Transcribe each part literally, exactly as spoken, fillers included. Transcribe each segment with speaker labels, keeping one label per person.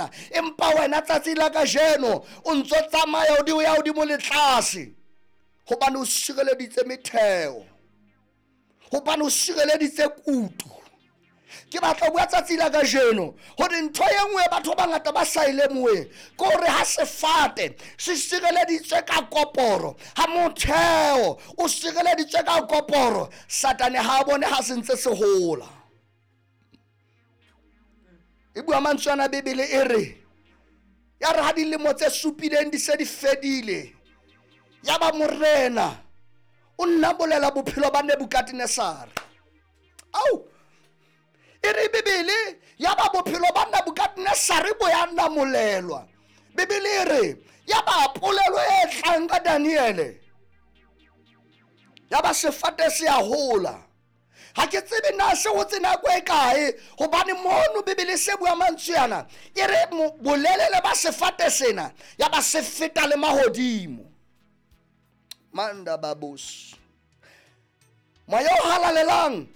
Speaker 1: yona. Empa wena tsatsi la kajeno o ntso tsamaya o di o ya hodimo le tlase, hobane o sireleditse metheo, hobane o sireleditse kutu. Ke batla ho bua tsatsi la kajeno hore ntho e nngwe batho ba bangata ba sa e lemoheng ke hore ha sefate se sireleditswe ka koporo, ha motheo o sireleditswe ka koporo, Satane ha a bone ha se ntse se hola. E bua mantswe ana Bibele e re, ya re ha dilemo tse supileng di se di fedile, ya ba morena o nna bolela bophelo ba Nebukadnesare. Au! E re Bibele ya ba bophelo ba Nebukadnesare bo ya namolelwa. Bibele e re ya ba polelo e tlang ka Daniele, ya ba sefate se a hola. Ha ke tsebe na se hotse nako e kae, hobane mono Bibele se bua mantswe ana e re bolelele ba sefate sena ya ba se feta le mahodimo. Manda babos, moya o halalelang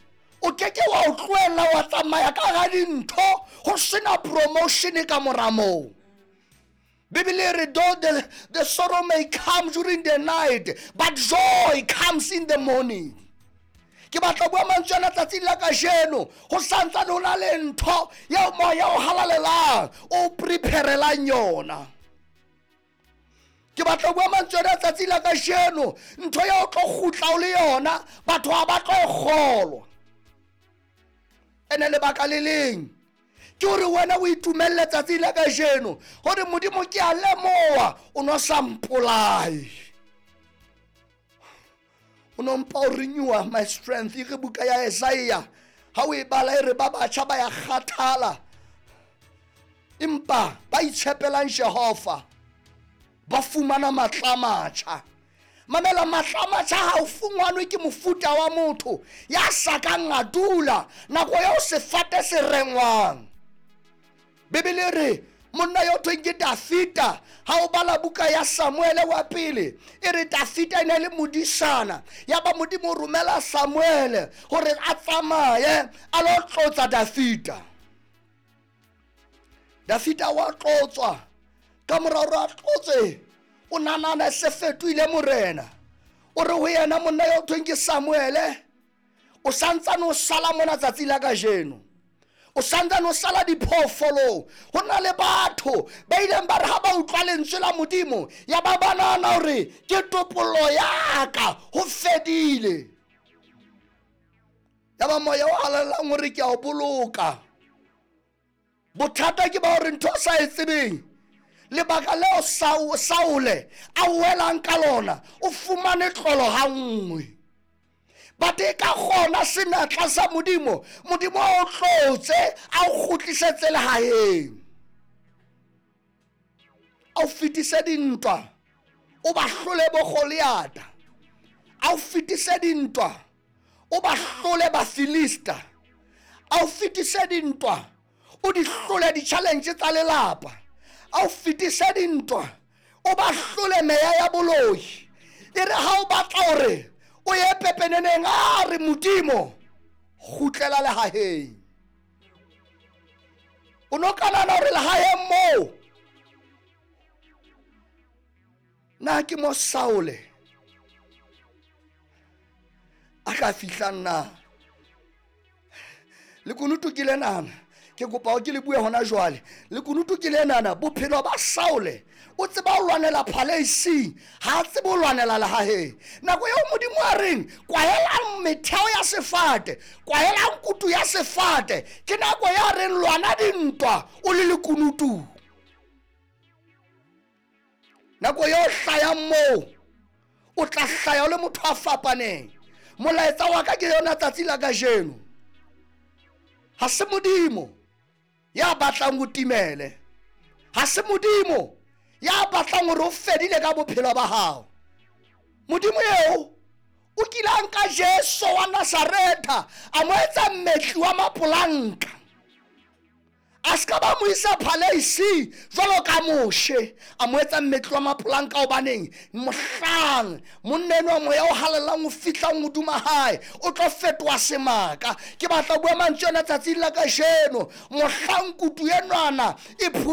Speaker 1: o keke wa o tlohella wa tsamaya ka hara dintho ho sena promotion ka mora moo. Bibele e re though the, the sorrow may come during the night, but joy comes in the morning. Ke batla bua mantswe ana tsatsing la kajeno, ho santsane ho na le ntho eo moya o halalelang o preparelang yona. Ke batla bua mantswe ana tsatsing la kajeno, ntho eo o tlo kgutla o le yona, batho ha ba tlo e kgolwa. Ene lebaka le leng ke hore wena o itumelle tsatsi la kajeno hore Modimo ke a lemoha o no sa mpolaye, o no mpa o renewa my strength. E re buka ya Isaiah ha o e bala e re ba batjha ba ya kgathala, empa ba itshepelang Jehova ba fumana matla a matjha. Mamela, matla a matjha ha o fungwanwe ke mofuta wa motho ya sa kang a dula nako eo sefate se rengwang. Bibele e re monna yo thweng ke Dafita, ha o bala buka ya Samuele wa pele e re Dafita e ne le modisana, ya ba Modimo o romela Samuele hore a tsamaye a lo tlotsa Dafita. Dafita wa tlotswa, ka mora hore a tlotswe o nanana se fetohile morena. O re ho yena monna yo thweng ke Samuele, o santsane o sala mona tsatsi la kajeno, o santsane o sala diphoofolong. Ho na le batho ba ileng ba re ha ba utlwa lentswe la Modimo ya ba ba nahana hore ke topollo ya ka, ho fedile. Ya ba moya o halalelang hore ke a o boloka. Bothata ke ba hore ntho o sa e tsebeng, lebaka leo Saule a welang ka lona, o fumane tlolo ha nngwe. But e ka kgona senatla sa Modimo, Modimo a o tlotse, a o kgutlisetse lehaeng, a o fetise dintwa, o ba hlole bo Goliata, a o fetise dintwa, o ba hlole Bafilista, a o fetise dintwa, o di hlole di-challenge tsa lelapa, a o fetise dintwa, o ba hlole meya ya boloi. E re ha o batla hore o ye pepeneneng, a re Modimo kgutlela lehaheng. O no ka nahana hore lehaheng moo na ke mo Saule a ka fihlang na? Lekunutu ke lenana, ke kopa hore ke le bue hona jwale. Lekunutu ke lenana, bophelo ba Saule o tseba ho lwanela phaleising, ha a tsebe ho lwanela lehaheng. Nako eo Modimo a reng kwahelang metheo ya sefate, kwahelang kutu ya sefate, ke nako ya reng lwana dintwa o le lekunutu. Nako eo hlayang moo o tla hlaya o le motho a fapaneng. Molaetsa wa ka ke yona tsatsi la kajeno. Ha se Modimo ya batlang ho timele, ha se Modimo ya batlang hore o fedile ka bophelo ba hao. Modimo eo o kile a nka Jesu wa Nazaretha a mo etsa mmetli wa mapolanka, a ska ba mo isa phaleisi jwalo ka Moshe, a mo etsa mmetli wa mapolanka. Hobaneng? Mohlang monna enwa moya o halalelang o fihlang hodima hae, o tlo fetoha semaka. Ke batla ho bua mantswe ana tsatsing la kajeno, mohlang kutu enwana e